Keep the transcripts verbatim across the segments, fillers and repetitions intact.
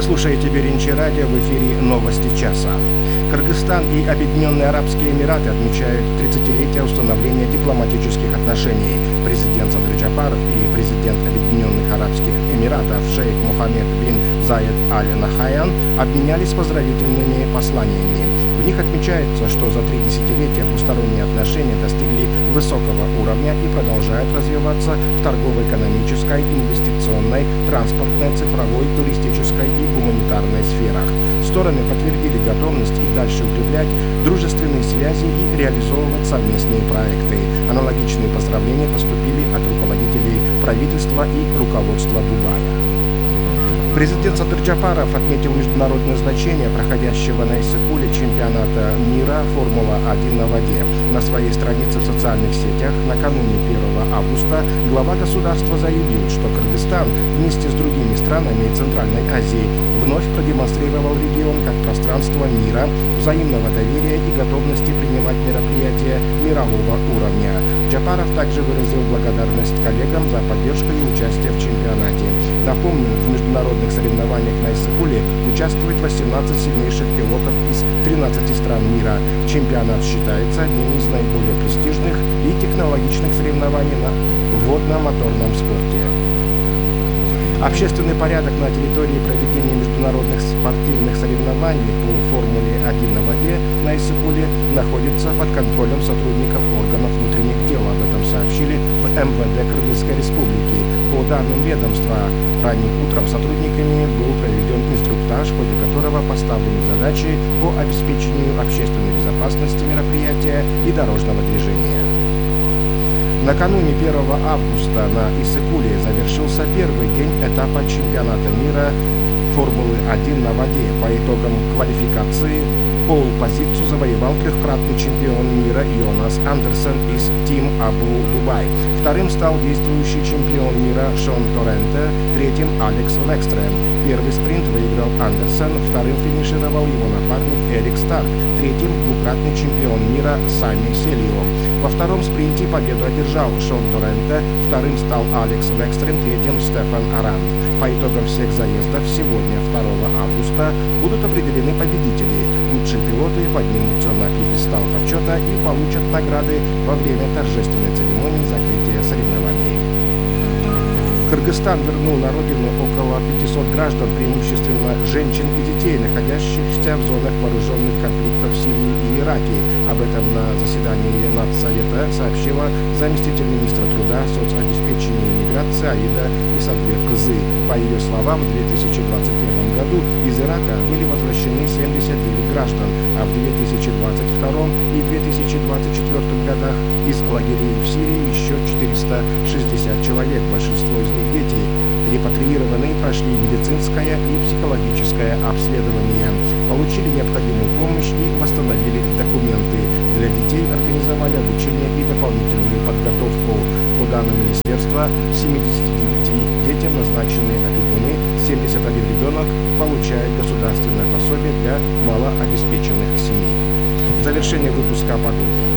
слушаете Биринчи радио, в эфире новости часа. Кыргызстан и Объединенные Арабские Эмираты отмечают тридцатилетие установления дипломатических отношений. Президент Садыр Джапаров и президент Объединенных Арабских Эмиратов шейх Мухаммед бин Заед Аль-Нахаян обменялись поздравительными посланиями. В них отмечается, что за три десятилетия двусторонние отношения достигли высокого уровня и продолжают развиваться в торгово-экономической, инвестиционной, транспортной, цифровой, туристической и гуманитарной сферах. Стороны подтвердили готовность и дальше укреплять дружественные связи и реализовывать совместные проекты. Аналогичные поздравления поступили от руководителей правительства и руководства Дубая. Президент Садыр Джапаров отметил международное значение проходящего на Иссык-Куле чемпионата мира «Формула один на воде». На своей странице в социальных сетях накануне первого августа глава государства заявил, что Кыргызстан вместе с другими странами Центральной Азии вновь продемонстрировал регион как пространство мира, взаимного доверия и готовности принимать мероприятия мирового уровня. Джапаров также выразил благодарность коллегам за поддержку и участие в чемпионате. Напомню, в международных соревнованиях на Иссык-Куле участвует восемнадцать сильнейших пилотов из тринадцати стран мира. Чемпионат считается одним из наиболее престижных и технологичных соревнований на водно-моторном спорте. Общественный порядок на территории проведения международных спортивных соревнований по «Формуле один на воде» на Иссык-Куле находится под контролем сотрудников органов внутренних дел. Об этом сообщили в эм вэ дэ Кыргызской Республики. По данным ведомства, ранним утром сотрудниками был проведен инструктаж, в ходе которого поставлены задачи по обеспечению общественной безопасности мероприятия и дорожного движения. Накануне первого августа на Иссык-Куле завершился первый день этапа чемпионата мира «Формулы один на воде». По итогам квалификации пол-позицию завоевал трехкратный чемпион мира Йонас Андерсон из Team Abu Dubai. Вторым стал действующий чемпион мира Шон Торренте, третьим Алекс Векстрем. Первый спринт выиграл Андерсон, вторым финишировал его напарник Эрик Старк, третьим двукратный чемпион мира Сами Селио. Во втором спринте победу одержал Шон Торренте, вторым стал Алекс Векстрем, третьим Стефан Арант. По итогам всех заездов сегодня, второго августа, будут определены победители. Лучшие пилоты поднимутся на пьедестал почета и получат награды во время торжественной церемонии закрытия соревнований. Кыргызстан вернул на родину около пятисот граждан, преимущественно женщин и детей, находящихся в зонах вооруженных конфликтов в Сирии и Ираке. Об этом на заседании Нацсовета сообщила заместитель министра труда, соцобеспечения и миграции Аида Исатбек-Кызы. По ее словам, в две тысячи двадцать первом году из Ирака были возвращены семьдесят девять граждан, а в две тысячи двадцать втором и две тысячи двадцать четвёртом годах из лагерей в Сирии еще четыреста шестьдесят человек, большинство из них дети. Репатриированные прошли медицинское и психологическое обследование, получили необходимую помощь и восстановили документы. Для детей организовали обучение и дополнительную подготовку. По данным министерства, семидесяти девяти детям назначены опекуны, семьдесят один ребенок получает государственное пособие для малообеспеченных семей. Завершение выпуска о погоде.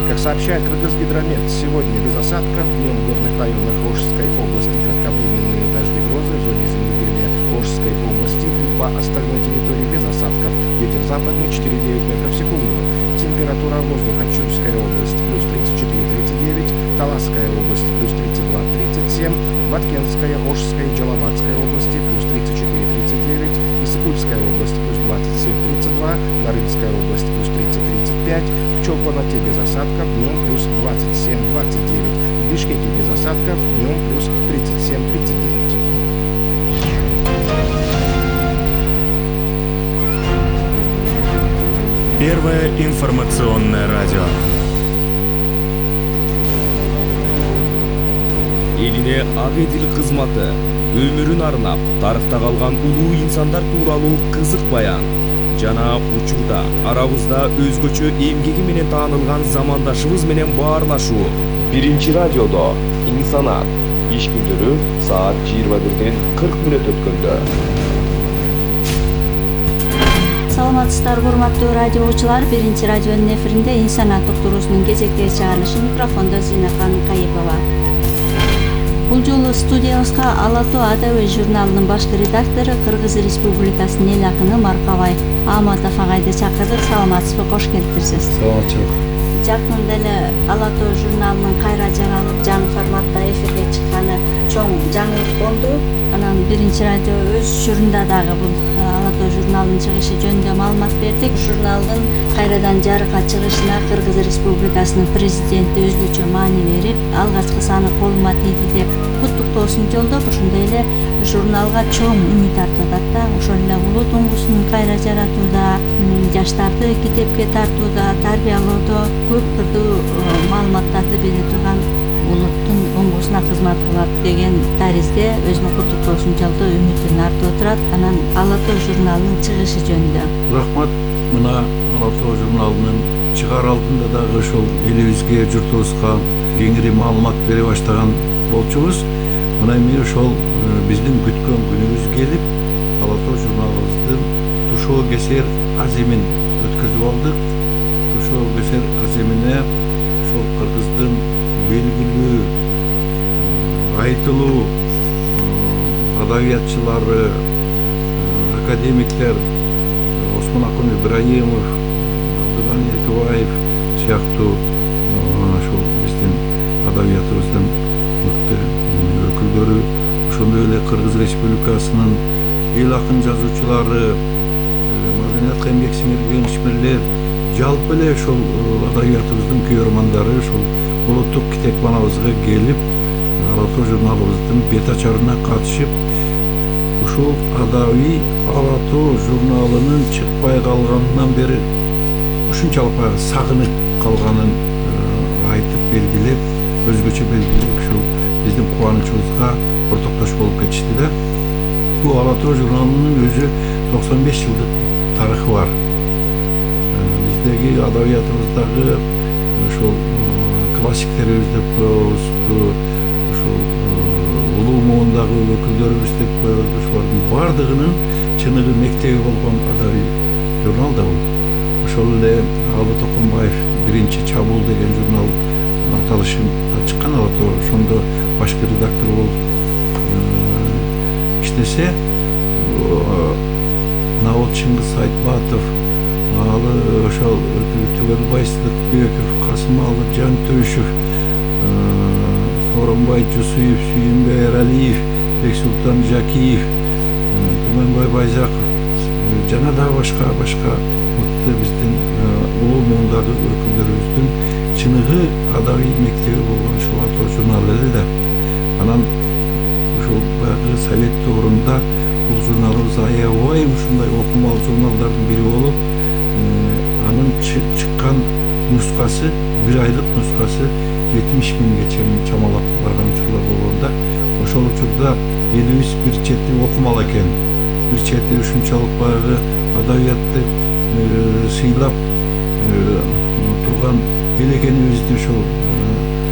Как сообщает Кыргызгидромет, сегодня без осадков, днем в горных районах Ошской области кратковременные дожди, грозы, в зоне земледелия Ошской области и по остальной территории без осадков. Ветер западный четыре и девять метров в секунду. Температура воздуха: Чуйская область плюс тридцать четыре — тридцать девять, Таласская область плюс тридцать два — тридцать семь, Баткенская, Ошская и Джалабатская области плюс тридцать четыре — тридцать девять, Иссык-Кульская область плюс двадцать семь — тридцать два, Нарынская область плюс тридцать — тридцать пять, в Чолпоноте без осадков, днем плюс двадцать семь — двадцать девять, в Бишкеке без осадков, днем плюс тридцать семь — тридцать девять. Первое информационное радио. Элине ак эдил кызматы өмүрүн арнап тарыхта калган улуу инсандар тууралуу кызык баян жана учурда арабызда өзгөчө эмгеги менен таанылган замандашыбыз менен баарлашуу. Биринчи радиодо инсанат иш күндөрү саат жыйырма бирден кырк мүнөт өткөндө. Саламатсыздарбы, урматтуу радиочулар. Биринчи радионун эфиринде инсанат уктуруусунун кезектеги чыгарылышы, микрофондо Зинакан Кайыпова. Бул жолу студиябызга Ала Тоо адабий журналынын башкы редактору, Кыргыз Республикасынын эл акыны Маркабай Ааматов агайды чакырдык. Саламатсызбы, кош келиптирсиз. Саламатчылык. Жакында эле Ала Тоо журналынын кайра жаралып, жаңы форматта эфирге чыкканы чоң жаңылык болду. Анан биринчи радио өз учурунда дагы бул Ала Тоо журналынын чыгышы жөнүндө маалымат бердик. Журналдын кайрадан жарыкка чыгышына Кыргыз Республикасынын президенти өзгөчө маани берип, алгачкы саны колума тийди деп куттуктоосун жолдоп, ошондой эле журналга чоң үмүт артат да. Ошол эле улуу туңгусун кайра жаратууда, жаштарды китепке тартууда, тарбиялоодо көп түрдүү маалыматтарды бере турган улуттун оңгусуна кызмат кылат деген таризде өзүнүн куттуктоосун жолдоп, үмүтүн артып отурат. Анан Ала Тоо журналынын чыгышы жөнүндө. Рахмат. Мына Ала Тоо журналынын чыгаар алдында дагы ошол элибизге, журтубузга кеңири маалымат бере баштаган болчубуз. Мына эми ошол биздин күткөн күнүбүз келип, Ала Тоо журналыбыздын тушоо кесер аземин өткөзүп алдык. Тушоо кесер аземине ошол Кыргыздын белгилүү, айтылуу адабиятчылары, академиктер Осмонакун Ибраимов, Абдыганы Экебаев сыяктуу ошол биздин адабиятыбыздын мыкты өкүлдөрү, ошондой эле Кыргыз Республикасынын эл акын жазуучулары, маданиятка эмгек сиңирген ишмерлер, жалпы эле ошол адабиятыбыздын күйөрмандары ошол улуттук китепканабызга келип, Ала Тоо журналыбыздын бет ачарына катышып, ушул адабий Ала Тоо журналынын чыкпай калганынан бери ушунчалык баягы сагынып калганын айтып белгилеп, өзгөчө белгилеп, ушул биздин кубанычыбызга ортоктош болуп кетишти да. Бул Ала Тоо журналынын өзү токсон беш жылдык тарыхы бар. Биздеги адабиятыбыздагы ошол классиктерибиз деп коебуз, ушул улуу муундагы өкүлдөрүбүз деп коебуз. Ошолордун баардыгынын чыныгы мектеби болгон адабий журнал да бул. Ошол эле Алы Токонбаев биринчи чабуул деген журнал аталышында чыккан. Ала Тоо ошондо башкы редактор болуп иштесе, Навод Чыңгыз Айтбатов, алы ошол Түгелбай Сыдыкбеков, Касымалы Жантөшев, Сооронбай Жусуев, Сүйүнбай Эралиев, Бексултан Жакиев, Түмөнбай Байзаков жана дагы башка башка мыкты биздин улуу муундагы өкүлдөрүбүздүн чыныгы адабий мектеби болгон ушул Ала Тоо журналы эле да. Анан ушул баягы совет доорунда бул журналыбыз аябай ушундай окумалуу журналдардын бири болуп, анын чыккан нускасы, бир айлык нускасы жетимиш миңге чейин чамалап барган учурлар болгон да. Ошол учурда элибиз бир чети окумал экен, бир чети ушунчалык баягы адабиятты сыйлап турган эл экенибизди ошол